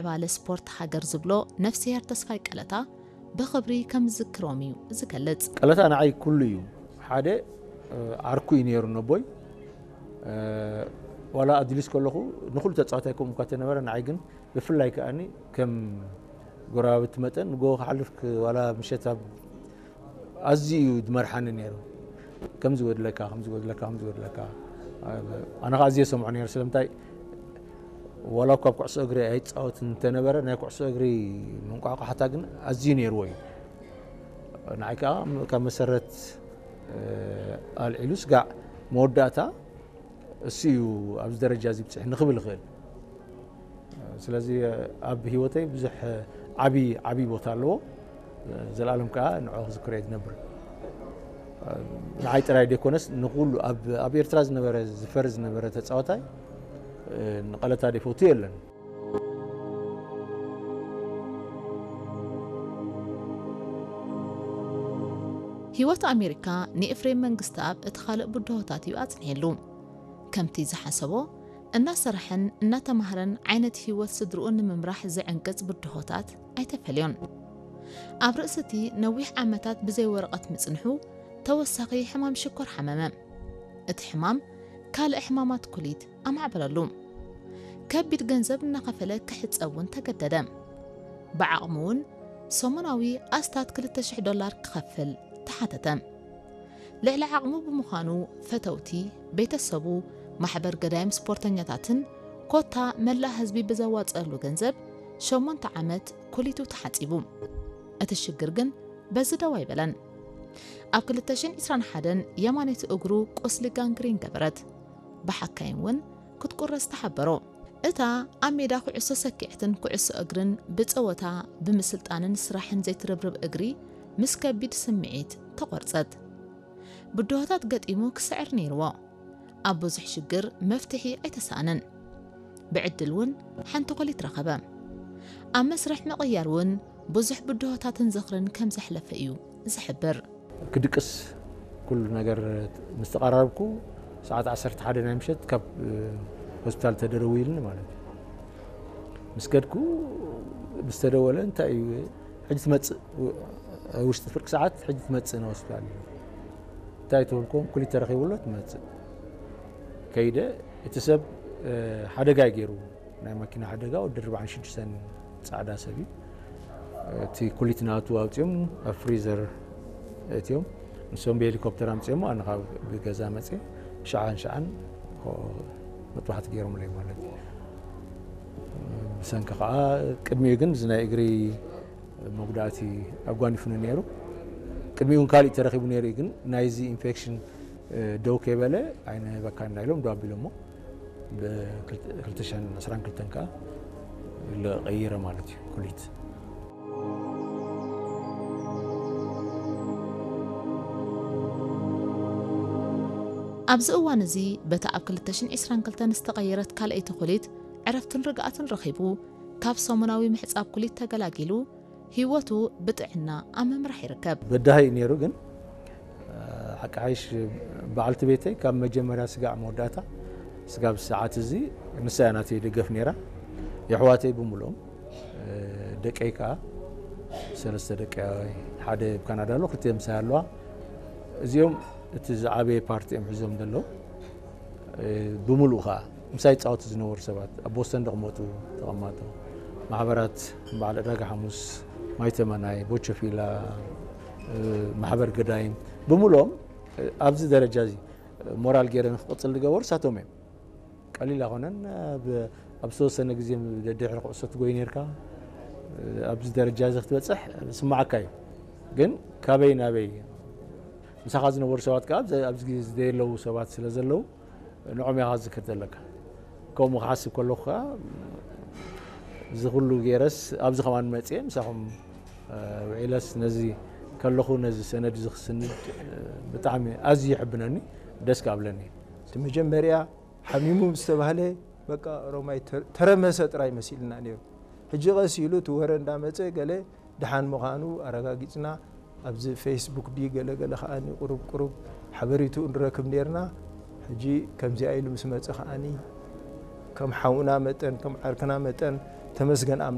ምዕባለ ስፖርት ሃገር ዝብሎ ነፍስሄር ተስፋይ ቀለታ ብኽብሪ ከም ዝዝክሮም እዩ ዝገልጽ። ቀለታ ንዓይ ኩሉ እዩ። ሓደ ዓርኩ እዩ ነይሩ ነቦይ። ዋላ ኣድሊስ ከለኹ ንኹሉ ተፃዋታይ ከምኡ እኳ ተነበረ፣ ንዓይ ግን ብፍላይ ከኣኒ ከም ጎረባብቲ መጠን ንጎ ክሓልፍ ዋላ ምሸት ኣብ ኣዝዩ እዩ ዝመርሓኒ ነይሩ። ከምዚ ወድለካ ከምዚ ወድለካ ከምዚ ወድለካ ኣነ ከዓ ኣዝየ ሰምዖ ነይሩ። ስለምንታይ ዋላ እኳ ኣብ ኩዕሶ እግሪ ኣይፃወት እንተነበረ ናይ ኩዕሶ እግሪ መንቋቋሕታ ግን ኣዝዩ ነይርዎ እዩ። ንዓይ ከዓ ካብ መሰረት ኣልዒሉ ስጋዕ መወዳእታ እሱ እዩ ኣብዚ ደረጃ እዚ ብፅሕ ንክብል ይኽእል። ስለዚ ኣብ ህይወተይ ብዙሕ ዓብዪ ዓብዪ ቦታ ኣለዎ። ዘላለም ከዓ ንዑ ክዝክሮ እየ ዝነብር። ንዓይ ጥራይ ደይኮነስ ንኩሉ ኣብ ኤርትራ ዝነበረ ዝፈር ዝነበረ ተፃወታይ ንቐለታ ደይፈቱ የለን። ህይወት ኣሜሪካ ንኤፍሬም መንግስተኣብ እቲ ካልእ ብድሆታት እዩ ኣጽኒሕሉ። ከምቲ ዝሓሰቦ እናሰራሐን እናተማህረን ዓይነት ህይወት ስድርኡ ንምምራሕ ዝዕንቅጽ ብድሆታት ኣይተፈልዮን። ኣብ ርእሲ እቲ ነዊሕ ዓመታት ብዘይ ወረቐት ምጽንሑ ተወሳኺ ሕማም ሽኮር ሓመመ። እቲ ሕማም ካልእ ሕማማት ኩሊት ኣማዕበለሉ። ከቢድ ገንዘብ እናኸፈለ ክሕጸብ እውን ተገደደ። ብዓቕሙ እውን ሰሙናዊ ኣስታት ክልተ ሽሕ ዶላር ክኸፍል ተሓተተ። ልዕሊ ዓቕሙ ብምዃኑ ፈተውቲ፣ ቤተሰቡ፣ ማሕበር ገዳይም ስፖርተኛታትን ኮታ መላእ ህዝቢ ብዘዋፀአሉ ገንዘብ ሸሞንተ ዓመት ኩሊቱ ተሓፂቡ። እቲ ሽግር ግን በዚ ደው ኣይበለን። ኣብ ክልተ ሽሕን ዕስራን ሓደን የማነይቲ እግሩ ቁስሊ ጋንግሪን ገበረት። ብሓካይም እውን ክትቁረስ ተሓበሮ። እታ ኣብ ሜዳ ኩዕሶ ሰኪዐትን ኩዕሶ እግርን ብጸወታ ብምስልጣንን ስራሕን ዘይትርብርብ እግሪ ምስ ከቢድ ስምዒት ተቖርጸት። ብድሆታት ገጢሙ ክስዕር ነይርዎ። ኣብ ብዙሕ ሽግር መፍትሒ ኣይተሳእነን። ብዕድል እውን ሓንቲ ኮሊት ረኸበ። ኣብ መስርሕ ምቕያር እውን ብዙሕ ብድሆታትን ዝኽርን ከም ዘሕለፈ እዩ ዝሕብር። ክድቅስ ኩሉ ነገር ምስ ተቐራረብኩ ሰዓት ዓሰርተ ሓደ ናይ ምሸት ካብ ሆስፒታል ተደረዊልኒ ማለት እዩ። ምስ ከድኩ ምስ ተደወለ እንታይ እዩ ሕጂ ትመፅእ ውሽጢ ፍርቂ ሰዓት ሕጂ ትመፅእ ንሆስፒታል እዩ እንታይ ተበልኩም ኩሊት ተረኺቡሎ ትመፅእ ከይደ እቲ ሰብ ሓደጋ እዩ ገይሩ ናይ መኪና ሓደጋ ወዲ ኣርባዓን ሽዱሽተን ፃዕዳ ሰብ እዩ እቲ ኩሊት ናቱ ኣውፅኦም ኣብ ፍሪዘር እትዮም ንሶም ብሄሊኮፕተር ኣምፅኦሞ ኣነ ካብ ብገዛ መፅየ ሸዓን ሸዓን መጥባሕቲ ገይሮምለይ ማለት እዩ ብሰንኪ ከዓ ቅድሚኡ ግን እዚ ናይ እግሪ መጉዳእቲ ኣጓኒፉኒ ነይሩ ቅድሚኡ እውን ካሊእ ተረኪቡ ነይሩ ግን ናይዚ ኢንፌክሽን ደው ከይበለ ኣይንህበካ እንዳኢሎም ደው ኣቢሎሞ ብ ክልተ ሽሕን ዕስራን ክልተን ከዓ ቀይረ ማለት እዩ ኩሊት ኣብዚ እዋን እዚ በታ ኣብ ክልተ ሽሕን ዕስራን ክልተን ዝተቐየረት ካልኣይቲ ኩሊት ዕረፍትን ርግኣትን ረኺቡ ካብ ሰሙናዊ ምሕጻብ ኩሊት ተገላጊሉ ህይወቱ ብጥዕና ኣብ ምምራሕ ይርከብ። በዳሂ እዩ ነይሩ ግን ሓቂ ሓይሽ በዓልቲ ቤተይ ካብ መጀመርያ ስጋዕ መወዳእታ ስጋብ ሰዓት እዚ ንሳ እያ ናተይ ደገፍ ነይራ የሕዋተይ ብምልኦም ደቀይ ከዓ ሰለስተ ደቂ ሓደ ኣብ ካናዳ ኣሎ ክልተ ምሳይ ኣለዋ እዚኦም እቲ ዝዓበየ ፓርቲ እዮም ሒዞም ዘለዉ ብምሉኡ ከዓ ምሳይ ይፃወቱ ዝነበሩ ሰባት ኣብ ቦስተን ደቕመጡ ተቐማጦ ማሕበራት በዓል ዕዳጋ ሓሙስ ማይተመናይ ቦቸፊላ ማሕበር ገዳይም ብምሎም ኣብዚ ደረጃ እዚ ሞራል ገይረ ንክቕፅል ዝገበሩ ሳቶም እዮም ቀሊል ኣይኮነን ኣብ ዝተወሰነ ግዜ ድሕሪ ኩዕሶ ትጎይ ነርካ ኣብዚ ደረጃ እዚ ክትበፅሕ ስማዓካ እዩ ግን ካበይ ናበይ ምሳኻ ዝነበሩ ሰባት ከዓ ኣብዚ ግዜ ዝደየለዉ ሰባት ስለ ዘለዉ ንዖም ኢኻ ዝዝክር ዘለካ ከምኡ ክሓስብ ከለኹ ከዓ እዚ ኩሉ ገይረስ ኣብዚ ከማን መፅየ ምሳኹም ውዒለስ ነዚ ከለኹ ነዚ ሰነድ እዚ ክስንድ ብጣዕሚ ኣዝዩ ይሕብነኒ ደስ ክኣብለኒ እቲ መጀመርያ ሓሚሙ ምስ ተባህለ በቃ ኦሮማይ ተረመሰ ጥራይ መሲልና ነይሩ ሕጂ ቀስ ኢሉ እቲ ወረ እንዳመፀ ገለ ደሓን ምዃኑ ኣረጋጊፅና ኣብዚ ፌስቡክ ድዩ ገለገለ ከዓኒ ቁሩብ ቁሩብ ሓበሪትኡ ንረክብ ነርና ሕጂ ከምዚኣ ኢሉ ምስ መፀ ከዓኒ ከም ሓውና መጠን ከም ዓርክና መጠን ተመስገን ኣምላኽ